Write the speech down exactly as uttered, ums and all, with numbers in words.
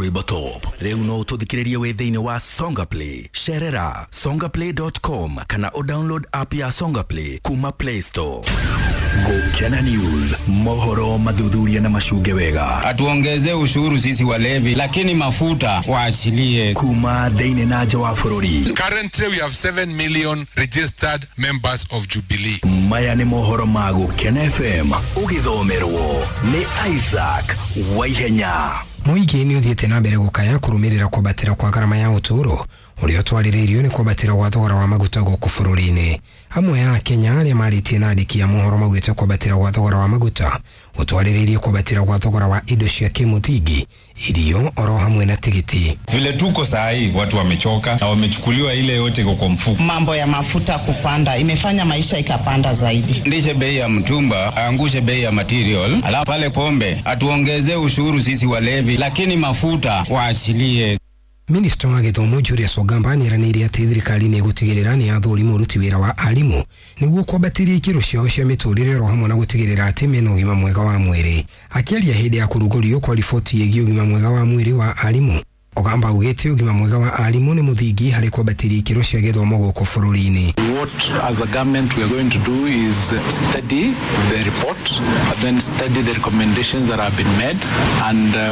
Rwĩmbo Top. Rĩu no ũtũthikĩrĩrie wĩ thĩinĩ wa Songa Play. Cerera songaplay dot com kana ũdownload app ya Songa Play kuma Play Store. Gũkena News, mohoro mathuthuria na macunge wega. Atuongeze ushuru sisi walevi, lakini mafuta waachilie. Kuma thĩinĩ na nja wa bũrũri. Currently, we have seven million registered members of Jubilee. Maya nĩ mohoro ma Gũkena F M, ũgĩthomerwo nĩ Isaac Waihenya. Mũingĩ nĩ ũthiĩte na mbere gũkaya kũrũmĩrĩra kwambatĩra kwa garama ya ũtũũro ũrĩa ũtwarĩrĩirio nĩ kwambatĩra gwa thogora wa maguta gũkũ bũrũri-inĩ. Amwe a Kenya arĩa marĩtie na andĩki a mohoro maugĩte kwambatĩra gwa thogora wa maguta gũtwarĩrĩirie kwambatĩra gwa thogora wa indo cia kĩmũthingi, irio oro hamwe na tigiti. Vile tuko saa hii, watu wamechoka na wamechukuliwa ile yote iko kwa mfuko. Mambo ya mafuta kupanda imefanya maisha ikapanda zaidi. Ndishe bei ya mtumba, aangushe bei ya material, alafu pale pombe atuongezee ushuru sisi walevi, lakini mafuta waachilie. Minista wa gĩthomo Julius Ogamba nĩeranĩire atĩ thirikari nĩ ĩgũtigĩrĩra nĩ yathũrima ũruti wĩra wa arimũ nĩguo kwambatĩria ikĩro ciao cia mĩtũrĩre oro hamwe na gũtigĩrĩra atĩ mena ũgima mwega wa mwĩrĩ. Akĩaria hĩndĩ ya kũrugũrio kwa riboti ĩgiĩ ũgima mwega wa mwĩrĩ wa arimũ, Ogamba augĩte ũgima mwega wa arimũ nĩ mũthingi harĩ kwambatĩria ikĩro cia gĩthomo gũkũ bũrũri-inĩ. What as a government we are going to do is study the report, then study the recommendations that have been made and uh,